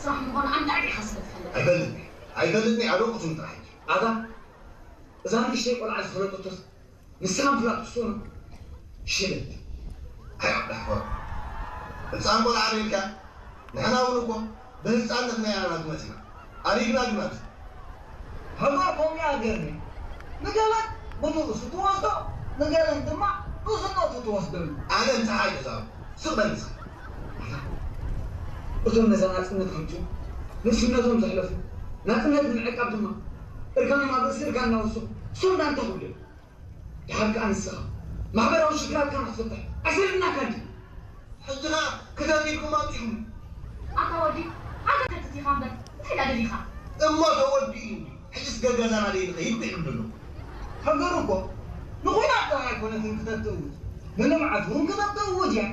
ስራሕ ምዃኑ ኣንዳዕዲዕኻ ስለ ትፈልጥ። ኣይፈልጥን እየ። ኣይፈልጥን እየ። ኣደቁ ስም ጥራሕ እዩ። ኣታ እዛ ንእሽተይ ቆልዓ ዝፈለጠቶስ ንስኻ ምፍላጥ ክስኡና? ሽለት። ኣይ ኣሕዋት፣ ህፃን ቆልዓ ዶ ኢልካ? ንሕና እውን እኮ ብህፃንነትና ኢና ናቱ መፂና። ኣሪግና ግን ኣብዚ። ሃገር ከምኡ እያ ሃገርኒ። ንገለን ብንኡሱ ትወስዶ፣ ንገለን ድማ ብዝነቱ ትወስደሉ። ኣነ ምሳኻ ኣይተዛረብኩ። ስቕ በል ንስኻ። እቶም ነዛ ናፅነት ከምፅኡ ንእስነቶም ዘሕለፉ፣ ናፅነት ንምዕቃብ ድማ እርጋኖም ኣብ ርእሲ እርጋንና ወሰኹ። እሶም ዳ እንታይ ክብሉ እዮም? ድሓር ከኣ ንስኻ ማሕበራዊ ሽግራትካ ንኽትፍትሕ ኣሰልጥናካ እንዲ። ሕጂ ኸኣ ክተት ኢልኩም ኣምጺኹም። ኣታ ወዲ፣ ኣታ ከተት ኢኻ እምበር እንታይ ደኣ ደሊኻ? እሞ ተወዲኡ እዩ። ሕጅስ ገገዛና ደይንኸይድ ይብል ኣሎ። ሃገር እኮ ንኹናት ጥራይ ኣይኮነትን ክተት ትእውጅ፣ ንልምዓት እውን ክተት ትእውጅ እያ።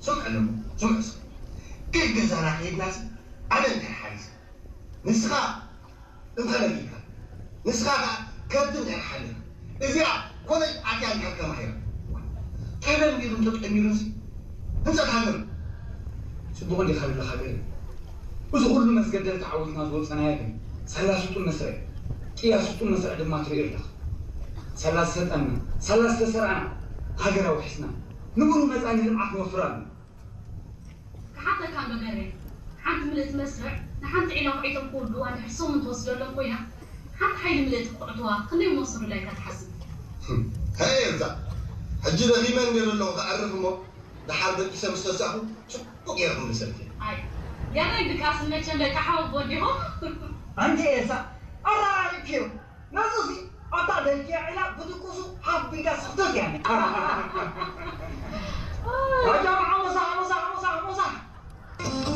ስምዕ ኣለኹ፣ ስምዕ እስኪ። ገገዛና ከይድናሲ ኣነ እንታይ ሓይስ? ንስኻ እንተ ደሊካ፣ ንስኻ ከኣ ከብቲ እንድሕር ሓሊኻ፣ እዚኣ ኮለጅ ኣትያ እንድሕር ተማሂራ፣ ተለሚዱን ተጠሚሩንሲ ህንጸት ሃገር እዩ። ጽቡቕ እንዲኻ ዘለኻ ገይሩ። እዚ ኩሉ መስገደል ተዓዊትና ዝወጸናዮ ግን ሳላ ስጡም መስርዕ፣ ቅያ ስጡም መስርዕ ድማ ትርእዮ ኣለኻ። ሳላ ዝሰልጠና፣ ሳላ ዝተሰርዓና ሃገር ኣውሒስና፣ ንብሩህ መጻኢ ንልምዓት ንወፍር ኣለና። ክሓተካ እንዶ ገሬ፣ ሓንቲ ምልእቲ መስርዕ ንሓንቲ ዒላ ኩዒቶም ክውድእዋ እንድሕር ሰሙን ትወስደሎም ኮይና፣ ሓንቲ ሓይሊ ምልእቲ ክኹዕትዋ ክንደይ ምወሰዱላ ኢልካ ትሓስብ? ሃይ ኤልሳ፣ ሕጂ ደኺመ እንድየ ዘለኹ ክኣርፍ እሞ፣ ደሓር ደቂሰ ምስ ተሳእኹ ጽቡቕ ገይረ ክምልሰልኪ። ኣይ፣ ገሬ ድቃስ መቸም ደቂ ሓወቦ እንዲኹም። ኣንቲ ኤልሳ፣ ኣራሪብክዮ። ነዚ እዚ ኣታ ደልክያ ዒላ ብድቁሱ ሓቢጋ ስኽተት እያ። ኣጃም ዓሞሳ፣ ዓሞሳ፣ ዓሞሳ፣ ዓሞሳ።